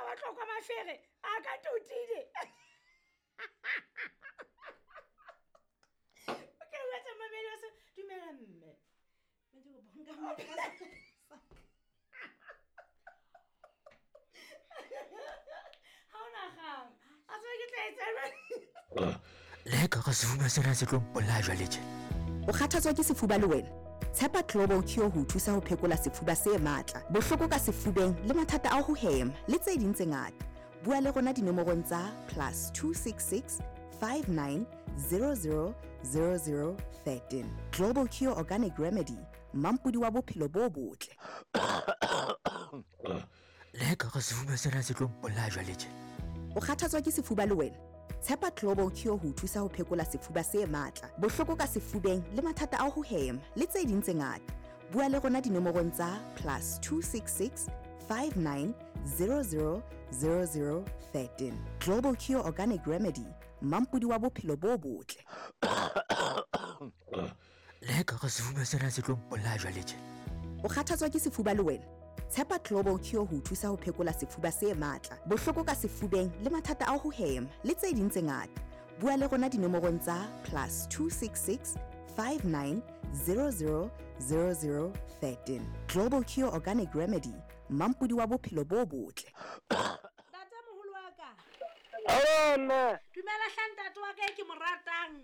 wa tlokwa mafere a ka totile. Okay, wetsa mamedi wa se dumela mme. Mme ke kopa nka Ha o nagang. A tsebe ke tla etsa jwang. Le ka ga sefuba sena se tlo mpolaya jwale tje. O kgathatswa ke sefuba le wena? Tshepa Global Cure ho o thusa ho phekola sefuba se matla, bohloko ka sefubeng le mathata a ho hema le tse ding tse ngata. Bua le rona dinomorong tsa plus 266 59 00 00 13. Global Cure Organic Remedy, mampodi wa bophelo bo botle. Le ka ga sefuba sena se tlo mpolaya jwale tje. O kgathatswa ke sefuba le wena? Tshepa Global Cure ho o thusa ho phekola sefuba se matla, bohloko ka sefubeng le mathata a ho hema le tse ding tse ngata. Bua le rona dinomorong tsa plus 266 59 00 00 13. Global Cure Organic Remedy, mampodi wa bophelo bo botle. Le ka ga sefuba sena se tlo mpolaya jwale tje. O kgathatswa ke sefuba le wena? Tshepa Global Cure ho o thusa ho phekola sefuba se matla, bohloko ka sefubeng le mathata a ho hema le tse ding tse ngata. Bua le rona dinomorong tsa plus 266 59 00 00 13. Global Cure Organic Remedy, mampodi wa bophelo bo botle. Ntate moholo wa ka. Aowa mme. Dumela hle ntate wa ka e ke mo ratang.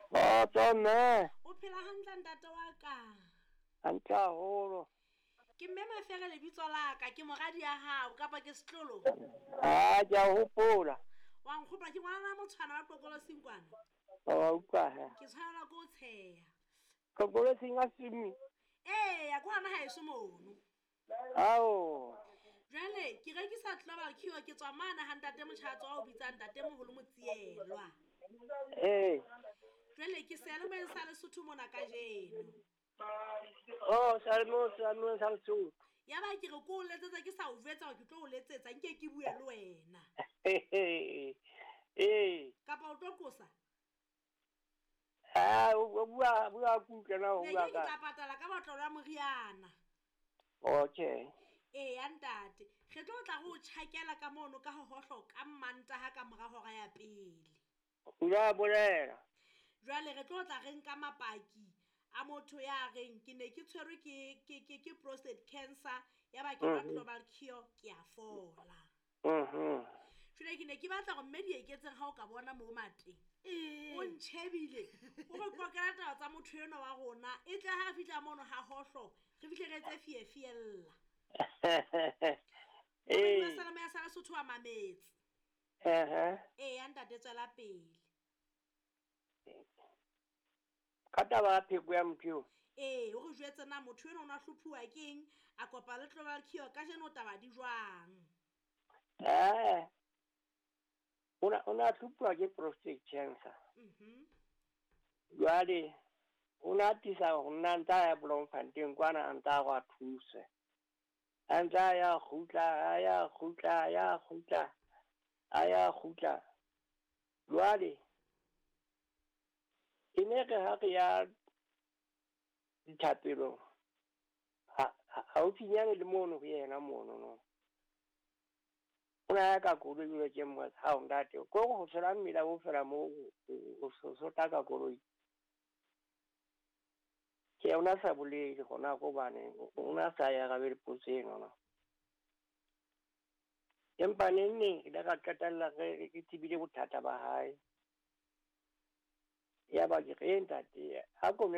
Kgotso mme. O phela hantle ntate wa ka. Hantle haholo. Ke mme Mafere lebitso la ka, ke moradi ya hao kapa ke setlolo? Ah, ke a hopola. Wa nkgopola ke ngwana motshwana wa Qokolosing kwana. Wa utlwa he. Ke tshwanelwa ke ho tsheha. Qokolosing a sumi. Eya, ke hona haeso mono. Ao. Jwale ke rekisa Global Cure ke tswa mane ha ntate Motjhatso wa o bitsang ntate moholo Motsielwa. Ee. Jwale ke seyalemoyeng sa Lesotho mona kajeno. Oh, seyalemoyeng seyalemoyeng sa Lesotho. Ya ba ke re ko o letsetsa ke sa o jwetsa hore ke tlo o letsetsa nke ke bue le wena. Ee. Kapa o tlo qosa? Ah, o bua bua kutlwe na o Ne bua ke ke ka. tla patala ka botlolo ya moriana. Okay. Eya ntate, re tlo tla re o tjhakela ka mono ka hohohlo ka Mmantaha ka mora hora ya pele. O ile a bolela. Jwale re tlo tla re nka mapaki a motho ya reng ke ne ke tshwerwe ke ke ke ke prostate cancer ya ba ke nwa Global Cure ke a fola. Jwale ke ne ke batla hore mme di eketseng ha o ka bona mo mateng. O ntjhebile o re qoqela taba tsa motho enwa wa rona e tle ha fihla mono ha hohlo re fihle re etse fie fiella. Ee. Salama ya sala Sotho wa mametse. Ehe. Eya ntate tswela pele. Ka taba ya pheko ya motho eo. Ee, o re jwetse na motho enwa o na hlophuwa keng a kopa le Global Cure kajeno taba di jwang? Eh. O na hlophuwa ke prostate cancer. Jwale o na atisa ho nna ntse a ya Bloemfontein kwana a ntse a re a thuswe. A ntse a ya kgutla, a ya kgutla, a ya kgutla, a ya kgutla. Jwale e ne re ha re ya dithapelong haufinyane le mono ho yena mono no. O na ya ka koloi jwale ke mmotsa, hao ntate, ko re ho tshela mmila o fela moo o sota ka koloi. Ke o na sa bolele hona hobane o na sa ya arabe potso eno no. Empa neng neng re ile ra qetella re ke tsebile bothata ba hae. Ya ba ke re ntate ha ko nwe